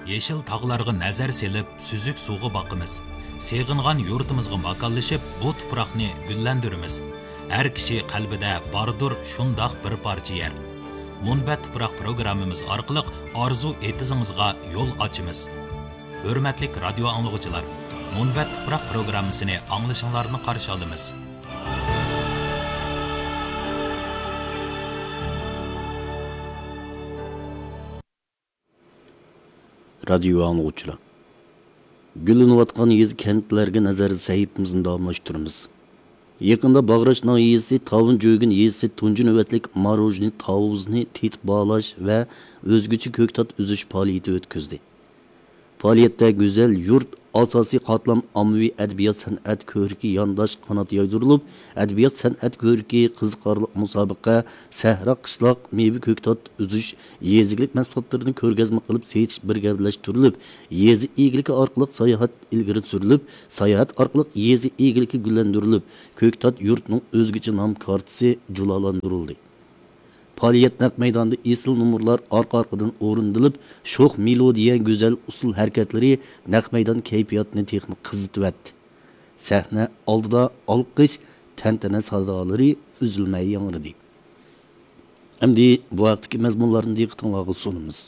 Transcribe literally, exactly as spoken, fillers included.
يېشىل تاغلارغا نەزەر سېلىپ، سۈزۈك سۇغا باقىمىز. سېغىنغان يۇرتىمىزغا ماكانلىشىپ، بۇ تۇپراقنى گۈللەندۈرىمىز. ھەر كىشى قەلبىدە باردۇر شۇنداق بىر پارچە يەر. مۇنبەت تۇپراق پروگراممىمىز ئارقىلىق ئارزۇ ئېتىزىڭىزغا يول ئاچىمىز. ھۆرمەتلىك رادىيو ئاڭلىغۇچىلار، مۇنبەت تۇپراق پروگراممىسىنى ئاڭلىشىڭلارنى قارشى ئالىمىز. رادىيو ئاڭلىغۇچىلار، گۈللىنىۋاتقان يېزا، كەنتلەرگە نەزەر سەھىپىمىزنى داۋاملاشتۇرىمىز. يېقىندا باغراش ناھىيەسى تاۋۇن جۆگىن يېزىسى تۇنجى نۆۋەتلىك ماروژنى تاۋۇزنى تېتىپ باھالاش ۋە ئۆزگىچە كۆكتات ئۈزۈش پائالىيىتى ئۆتكۈزدى. پائالىيەتتە گۈزەل يۇرت ئاساسىي قاتلام ئاممىۋى ئەدەبىيات سەنئەت كۆرىكى يانداش قانات يايدۇرۇلۇپ، ئەدەبىيات سەنئەت كۆرىكى، قىزىقارلىق مۇسابىقە، سەھرا قىشلاق مېۋە كۆكتات ئۈزۈش، يېزا ئىگىلىك مەھسۇلاتلىرىنى كۆرگەزمە قىلىپ سېتىش بىر گەۋدىلەشتۈرۈلۈپ، يېزا ئىگىلىكى ئارقىلىق ساياھەت ئىلگىرى سۈرۈلۈپ، ساياھەت ئارقىلىق يېزا ئىگىلىكى گۈللەندۈرۈلۈپ، كۆكتات يۇرتىنىڭ ئۆزگىچە نام كارتىسى جۇلالاندۇرۇلدى. پائالىيەت نەق مەيدانىدا ئېسىل نومۇرلار ئارقا-ئارقىدىن ئورۇندىلىپ، شوخ مېلودىيە، گۈزەل ئۇسسۇل ھەرىكەتلىرى نەق مەيدان كەيپىياتىنى تېخىمۇ قىزىتىۋەتتى. سەھنە ئالدىدا ئالقىش، تەنتەنە سادالىرى ئۈزۈلمەي ياڭرىدى. ئەمدى بۇ ھەقتىكى مەزمۇنلارنى دىققىتىڭلارغا سۇنىمىز.